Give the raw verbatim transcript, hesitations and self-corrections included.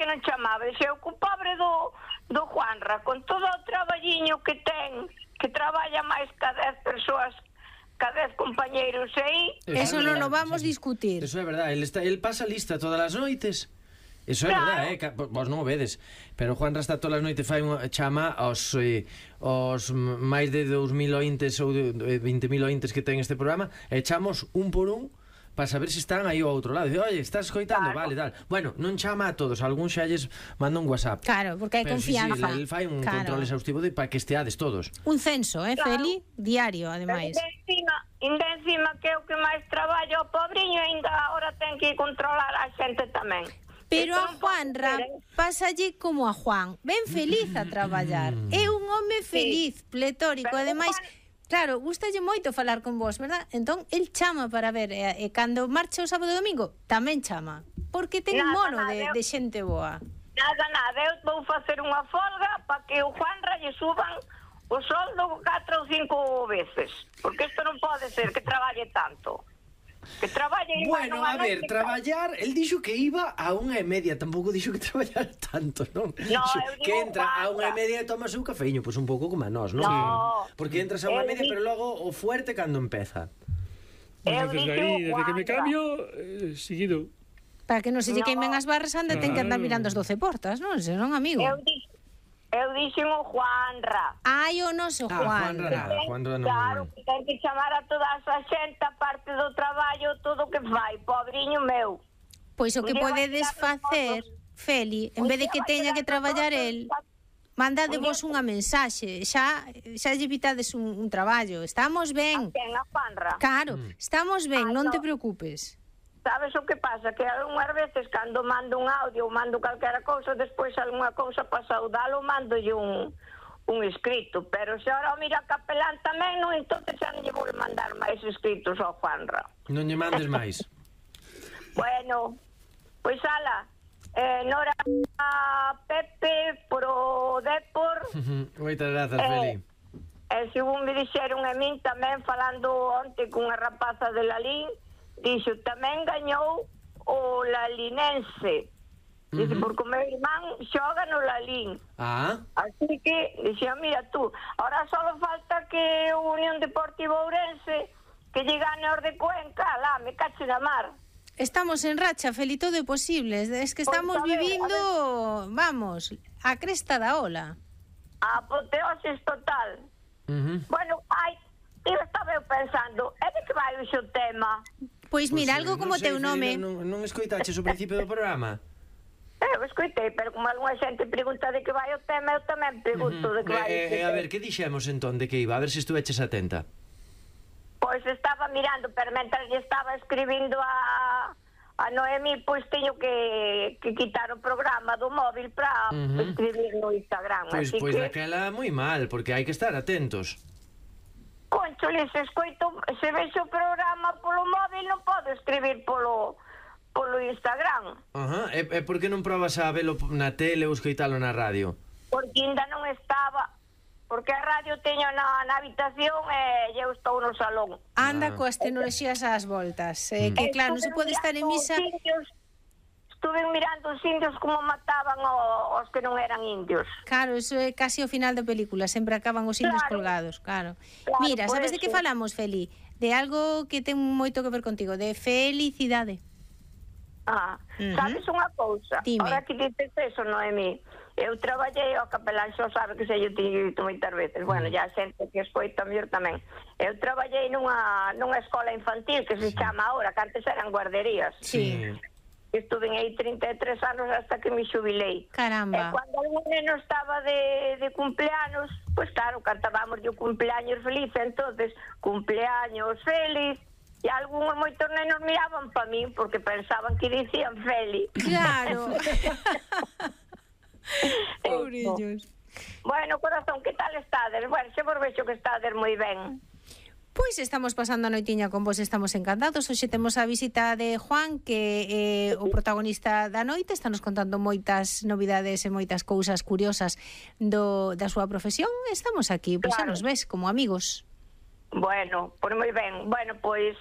non chamaba? Dixeu que o pobre do, do Juanra, con todo o traballiño que ten, que traballa máis que dez persoas, que dez compañeiros aí... Eso non o vamos discutir. Eso é verdade, el, está, el pasa lista todas as noites. Eso é claro. verdade, eh? Vos non o vedes. Pero Juanra está todas as noites, fai unha chama aos, eh, aos máis de dous mil ointes ou vinte mil ointes que ten este programa, e chamos un por un para saber se están aí ao outro lado. Dice, oye, estás escoitando? Claro. Vale, tal. Bueno, non chama a todos, algún xa lles manda un WhatsApp. Claro, porque hai pero confianza. Sí, sí, el fai un claro. control exhaustivo de, para que esteades todos. Un censo, eh, claro. Feli? Diario, ademais. Ainda encima, ainda encima que é o que máis traballa o pobriño, ainda agora ten que controlar a xente tamén. Pero a Juanra pásalle como a Juan, ben feliz a traballar. É un home feliz, sí. pletórico, pero ademais... Juan... Claro, gustalle moito falar con vos, verdad? Entón, el chama para ver, e, e cando marcha o sábado e domingo, tamén chama, porque ten nada, mono nada, de, eu, de xente boa. Nada, nada, eu vou facer unha folga para que o Juanra lle suban o soldo catro ou cinco veces, porque isto non pode ser que traballe tanto. Que traballe igual. Bueno, a ver, traballar, el dixo que iba a unha e media, tampouco dixo que traballar tanto, non? No, que entra a unha e media e tomas un cafeíño, pois pues un pouco como a nós, non? No. Porque entras a unha e media, pero logo o fuerte cando empeza. Eu entonces aí, desde que me cambio, eh, seguido. Para que non se lle no. queimen as barras, anda, ten que andar mirando as doce portas, non? Se non, amigo. Eu dixo Eu dixen o Juanra. Ai, o noso ah, Juanra. Juanra, Juanra non. Claro, que ten que chamar a toda a xente, a parte do traballo, todo o que fai, pobriño meu. Pois o que podedes facer, Feli, en vez de que teña que traballar el, mandade vos unha mensaxe, xa xa lle evitades un, un traballo. Estamos ben. A quen, a Juanra? Claro, estamos ben, Ah, non no. te preocupes. Sabes o que pasa? Que algunhas veces cando mando un audio ou mando calquera cousa, despois algunha cousa para saudalo, mandolle un, un escrito. Pero se ahora o mira capelán tamén, non, entonces xa non lle vou mandar máis escritos ao Juanra. Non lle mandes máis. Bueno, pois ala, eh, Nora a Pepe pro Depor. Moitas grazas, eh, Feli. E según me dixeron a min tamén, falando onte cunha rapaza de Lalín, dixo, tamén gañou o Lalinense. Dice, uh-huh. porque o meu irmán xoga no Lalín. Ah. Así que, dixo, mira tú, ahora só falta que o Unión Deportivo Ourense que lle gane os de Cuenca, lá, me cache na mar. Estamos en racha, Feli, todo é posible. Es que estamos pues, a ver, vivindo, a vamos, a cresta da ola. A apoteosis total. Uh-huh. Bueno, ai, eu estaba eu pensando, é de que vai o xo tema? Pois mira, pues, algo como sei, teu nome. Non, non escoitaches o principio do programa? Eu escoitei, pero como algunha xente pregunta de que vai o tema, eu tamén pregunto uh-huh. de que vai eh, eh, A ver, que dixemos entón de que iba? A ver se estuveches atenta. Pois estaba mirando, pero mentras lle estaba escribindo a, a Noemi, pois teño que, que quitar o programa do móvil para uh-huh. escribir no Instagram. Pois, así pois que... daquela moi mal, porque hai que estar atentos. Conchole, se escoito, se vexo o programa polo móvil, non podo escribir polo polo Instagram. Ajá, e, e por que non probas a velo na tele ou escoitalo na radio? Porque ainda non estaba, porque a radio teño na, na habitación e eu estou no salón. Anda Ah. coas tecnoloxías ás voltas, eh, que claro, non se pode estar en misa. Estuve mirando os indios como mataban o, os que non eran indios. Claro, eso é casi o final da película, sempre acaban os indios Claro. colgados, claro. Claro, Mira, por sabes de que eso. falamos, Feli? De algo que ten moito que ver contigo, de felicidade. Ah, Ujú. sabes unha cousa? Dime. Ahora que dices eso, Noemí, eu traballei ao capelán, xo sabe que se yo teño dito moitas veces. Bueno, ya a xente que escoita mellor tamén. Eu traballei nunha, nunha escola infantil que se chama ahora, que antes eran guarderías. Sí. Estuve aí trinta e tres anos hasta que me xubilei. Caramba. E cando algún neno estaba de, de cumpleaños, pues claro, cantábamos o cumpleaños feliz, entonces, cumpleaños feliz, e algúns moitos nenos miraban pa min porque pensaban que dicían feliz. Claro. Pobrillos. Bueno, corazón, que tal estades? Bueno, xe vos vexo que estades moi ben. Pois estamos pasando a noitiña con vos, estamos encantados. Hoxe temos a visita de Juan, que é o protagonista da noite, está nos contando moitas novidades e moitas cousas curiosas do, da súa profesión. Estamos aquí, pois xa Claro. nos ves como amigos. Bueno, pois moi ben. Bueno, pois